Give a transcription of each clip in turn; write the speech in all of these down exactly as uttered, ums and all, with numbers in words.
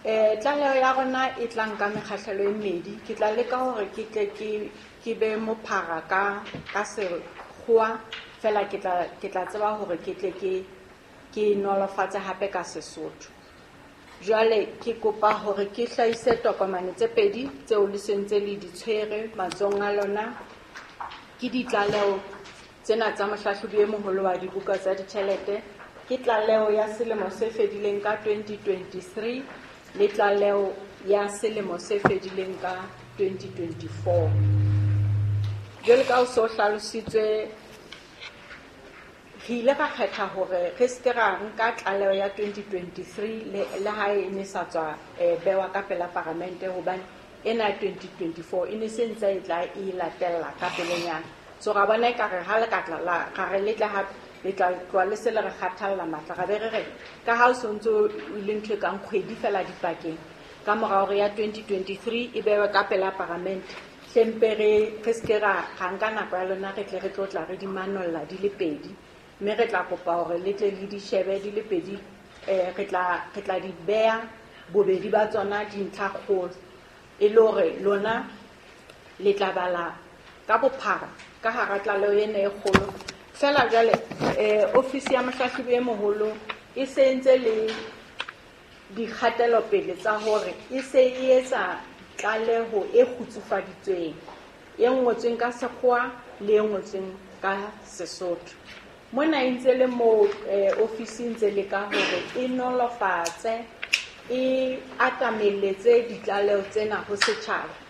Eh tlaleho ya rona e tla nka mekgahlelo e mmedi. Ke tla leka hore ke tle ke ke be mophara ka ka sekgowa fela ke tla ke tla tseba hore ke tle ke ke nolofatse hape ka Sesotho. Jwale ke kopa hore ke hlahise tokomane tse pedi tseo le sentse le di tshwere matsohong a lona. Ke ditlaleho tsena tsa mohlahlobi e moholo wa dibuka tsa ditjhelete. Ke tlaleho ya selemo se fedileng ka twenty twenty-three le tlaleho ya selemo se fedileng ka twenty twenty-four. Jwale ka o so hlalositswe, re ile ra kgetha hore re se ke ra nka tlaleho ya twenty twenty-three le, le ha e ne sa tswa, eh, bewa ka pela paramente, hobane ena ya twenty twenty-four e ne se ntse e tla e latella ka pelenyana. So ra bona ekare ha le ka tla la, ra re le tla hape, le tla tloha le se le re kgathalla matla. Ra be re re, ka ha o so ntso o le ntho e kang kgwedi fela dipakeng, ka mora hore ya twenty twenty-three e bewe ka pela paramente, hlempe re, re se ke ra, ra nka nako ya lona, re tle re tlo tla re di manolla di le pedi. Mme re tla kopa hore le tle le di shebe di le pedi, eh, re tla, re tla di beha bobedi ba tsona dintlha kgolo, e le hore lona le tla bala ka bophara ka hara tlaleho ena e kgolo. Fela jwale, eh, ofisi ya mohlahlobi e moholo e se ntse le dikgatelopele tsa hore e se e etsa tlaleho e kgutsufaditsweng, e ngotsweng ka sekgowa le e ngotsweng ka Sesotho. Mona e ntse le moo, eh, ofisi e ntse le ka hore e nolofatse, e atameletse ditlaleho tsena ho setjhaba.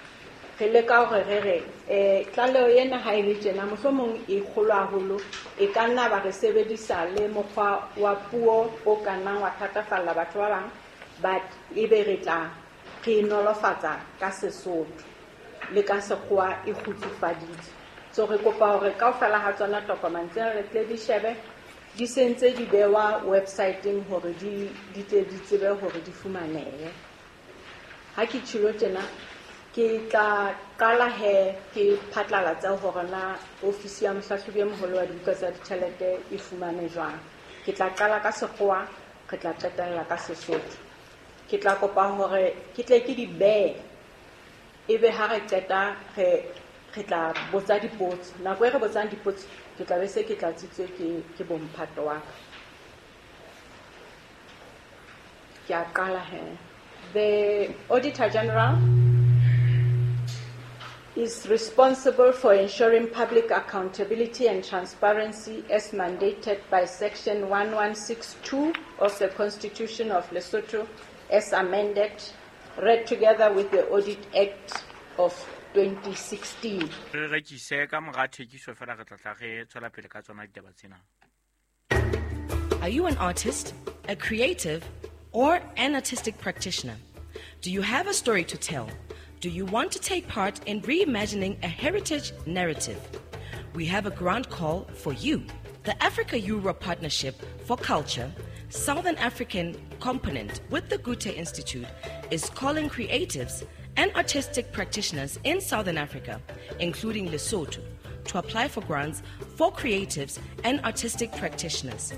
Re leka hore re re, eh, tlaleho ena ha e le tjena, mohlomong e kgolo haholo, e ka nna ba re sebedisa le mokgwa wa puo o ka nnang wa thatafalla batho ba bang, but ebe re tla re nolofatsa ka Sesotho le ka sekgowa e kgutsufaditswe. So re kopa hore kaofela ha tsona tokomane tsena le tle di shebe, di se ntse di bewa website-eng hore di, di tle di tsebe hore di fumanehe. Ha ke tjhilo tjena, ke tla qala he ke phatlalatse hore na ofisi ya mohlahlobi e moholo wa dibuka tsa ditjhelete e fumane jwang. Ke tla qala ka sekgowa, re tla qetella ka Sesotho. Ke tla kopa hore ke tle ke di behe, ebe ha re qeta re, re tla botsa dipotso. Nako e re botsang dipotso, ke tla be se ke tlatsitswe ke, ke bomphato wa ka. Ke a qala he. The Auditor General is responsible for ensuring public accountability and transparency as mandated by Section one one six two of the Constitution of Lesotho as amended, read together with the Audit Act of twenty sixteen. Re rekise ka mora thekiso fela re tla tla re tswela pele ka tsona ditaba tsena. Are you an artist, a creative, or an artistic practitioner? Do you have a story to tell? Do you want to take part in reimagining a heritage narrative? We have a grant call for you. The Africa-Europe Partnership for Culture, Southern African component with the Goethe Institute, is calling creatives and artistic practitioners in Southern Africa, including Lesotho, to apply for grants for creatives and artistic practitioners.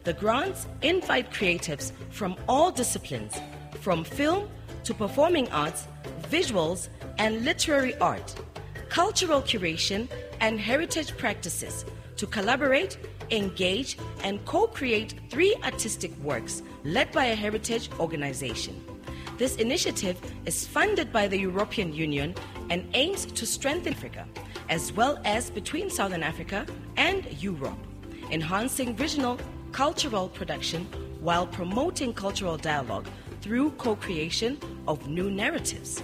The grants invite creatives from all disciplines, from film to performing arts, visuals and literary art, cultural curation and heritage practices to collaborate, engage and co-create three artistic works led by a heritage organization. This initiative is funded by the European Union and aims to strengthen Africa, as well as between Southern Africa and Europe, enhancing regional cultural production while promoting cultural dialogue through co-creation of new narratives.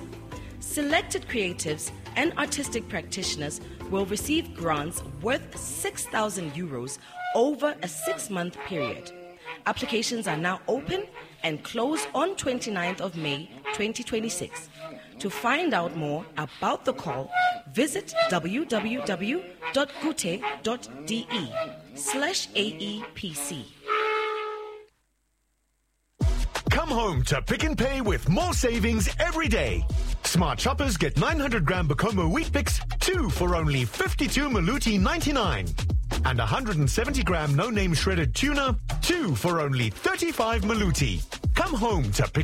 Selected creatives and artistic practitioners will receive grants worth six thousand euros over a six-month period. Applications are now open and close on twenty-ninth of May twenty twenty-six. To find out more about the call, visit w w w dot goethe dot d e slash A E P C. Come home to Pick n Pay with more savings every day. Smart shoppers get nine hundred gram Bokomo Weet-Bix, two for only fifty-two Maluti ninety-nine. And a hundred and seventy gram no-name shredded tuna, two for only thirty-five Maluti. Come home to Pick n